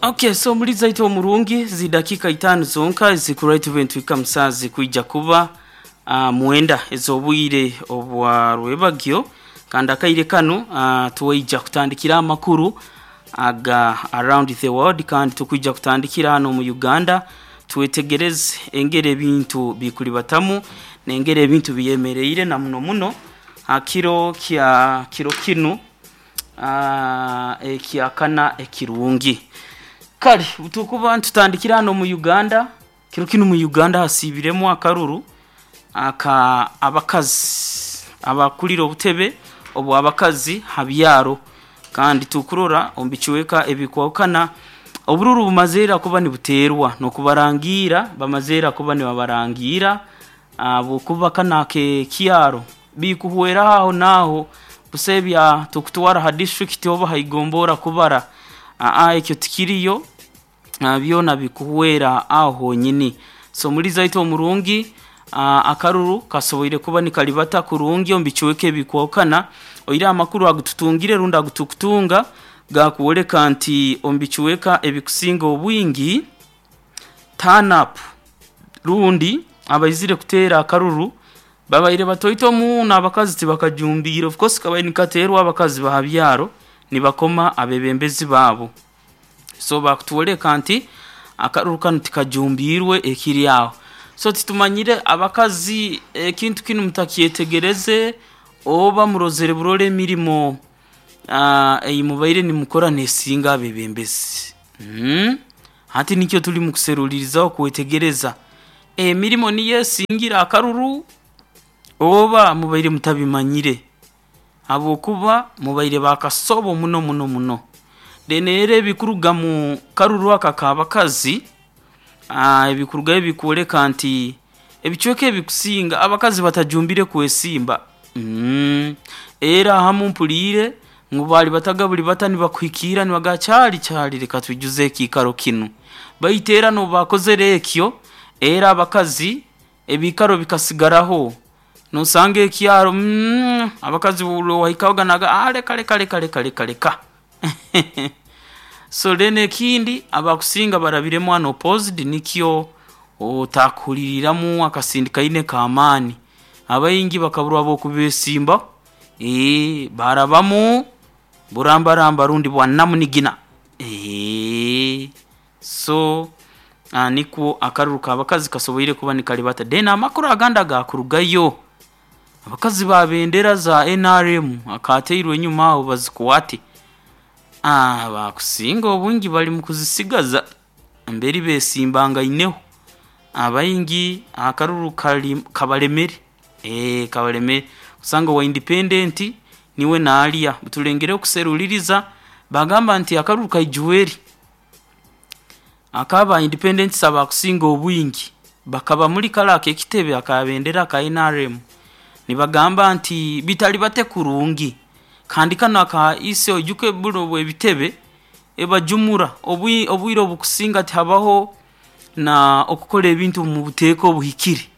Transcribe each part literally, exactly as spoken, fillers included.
Okay, so muri zaito omurungi zidakika itano zonka zikuraita ibintu musazi kuija kuba uh, mwenda ez'obwire obwa rwebagyo kandi akaire kano uh, tuwaija kutandikira amakuru aga around the world kandi tukwija kutandikira hano mu Uganda twetegereze engeri ebintu bikulibatamu nengeri ebintu biyemereire na muno muno hakiro kya kiro kinu uh, ekyakana ekirungi. Kale tukuba ntutandikira hano mu Uganda. Kiro kinu mu Uganda hasibiremu akaruru aka abakazi abakulira obutebe obwa abakazi habyaro kandi tukurora ombikiweka ebikwakana obururu bumazeera kuba nibuterwa nokubarangira bamazeera kuba nibabarangira abo kuba kana ke kyaro bikuhwera aho naho busebya tukutwara ha district oba haigombora kubara aa ekyo tikiriyo byona bikuhwera aho nyini. So muri zaito omurungi akaruru kasoboire kuba nikalibata kurungi ombikiweke ebikwakana oira amakuru agututungire runda agutukutunga gakuoleka nti ombikiweka ebikusinga obwingi turn up rundi abaizire kutera akaruru babaire batoito mu n'abakazi tibakajumbira. Of course kabaye nikaterwa abakazi bahabyaro nibakoma abebembezi babo, so bakutwoleka nti akaruru kano tikajumbirwe ekiri aho. So titumanyire abakazi ekintu kinu mutakyetegereze oba murozere burole emirimo uh, eyimubaire nimukora nesinga abebembezi. mm. Hati nikyo tuli mukuserulirizaho kwetegereza emirimo niyo esingira akaruru oba mubaire mutabimanyire habwokuba mubaire bakasobo muno muno muno. Then era ebikuruga mu karuru aka kabakazi ebikurugayo bikuoleka nti ebicweka ebikusinga abakazi batajumbire kwesimba. mm. Era hamu mpuliire ngu bali bataga buli bata nibakuhikiira nibaga kyali kyali leka twijuze ekiikaro kinu, baitu era nobakozere ekyo era abakazi ebiikaro bikasigaraho nosanga ekyaro mm, abakazi wahikahoga naga ah, leka leka leka leka leka leka. So then ekindi abakusinga barabiremu unopposed nikyo otakuhuliriramu akasindikaine k'amaani abaingi bakaburwa bokubesimba ee barabamu burambaramba rundi bwa namunigina ee so uh, nikwo akaruru k'abakazi kasoboire kuba nikalibata. Then amakuru agandi agakurugayo abakazi ba bendera za N R M akateirwe enyuma aho bazikwate ah, bakusinga obwingi bali mu kuzisigaza mberi besimbangaineho abaingi akaruru kali kabalemere eh kabalemere kusanga wa independent niwe naalya tulengere okuseruliriza bagamba nti akaruru kaijuweri akaba independent saba kusinga obwingi bakaba muri kala ekitebe akabendera ka N R M nibagamba nti bitali bate kurungi kandi kano aka ise ojuke buno bwebitebe ebajumura obwire obukusinga tihabaho na okukola ebintu mu buteeko obuhikire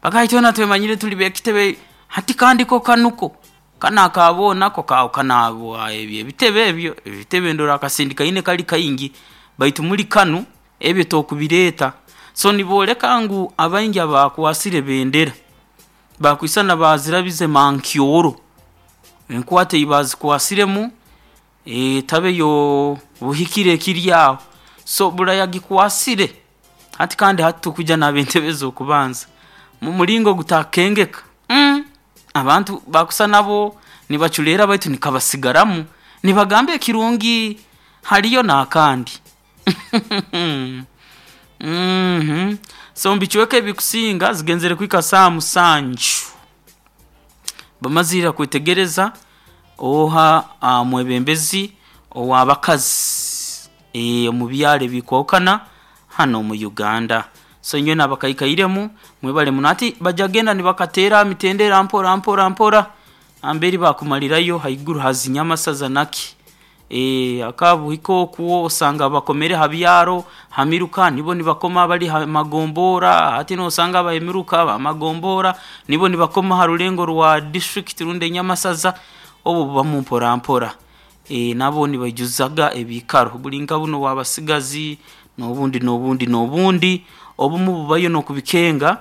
bakaitona twemanyire tuli bekitebe hati kandi ko kanuko kana akabona ko kawo kanabo ebyo ebitebe ebyo ebitebe ndora akasindika ine kali kaingi baitu muri kanu ebyo tokubireta. So niboleka ngu abaingi abakwasire bendera bakwisana bazirabize mankyoro enkwate ibazikwasiremu e, tabe yo buhikire kiryaho so burayagikwasire hati kandi hati tukuja nabentebe okubanza mu mulingo gutakengeka mm. Abantu bakusa nabo nibachulera baitu nikabasigaramu nibagambe kirungi haliyo nakandi. Mhm so mbichweke bikusinga zigenzere kwika saa musanju bamazira kwetegereza oha uh, mwebembezi owabakazi e mu byale bikwokana hano mu Uganda. So nywe nabakaikairemu mwebale munati bajagenda nibakatera mitendera mpora mpora mpora amberi bakumalirayo haiguru hazinyama saza naki e akabuhiko kuwo osanga bakomere habyaro hamiruka nibo nibakoma bali magombora hati no osanga abayemiruka bamagombora nibo nibakoma harulengo rwa district runde nyamasaza obo bamu mpora mpora. e, nabo nibaijuzaga ebikaro buli nka buno bwabasigazi n'obundi n'obundi n'obundi obumu bubayo n'okubikenga.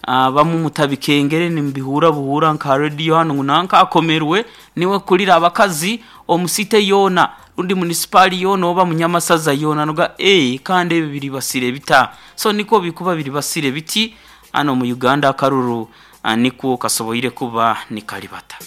Abamu mutabikengere nimubihura buhura nka radio hanu ngu nanka akomerwe niwe kulira abakazi omusite yoona rundi munisipaali yoona oba munyamasaza yoona noga eh kandi ebi biri basire bita. So niko bikuba biri basire biti hano mu Uganda akaruru ah, niko kasoboire kuba nikalibata.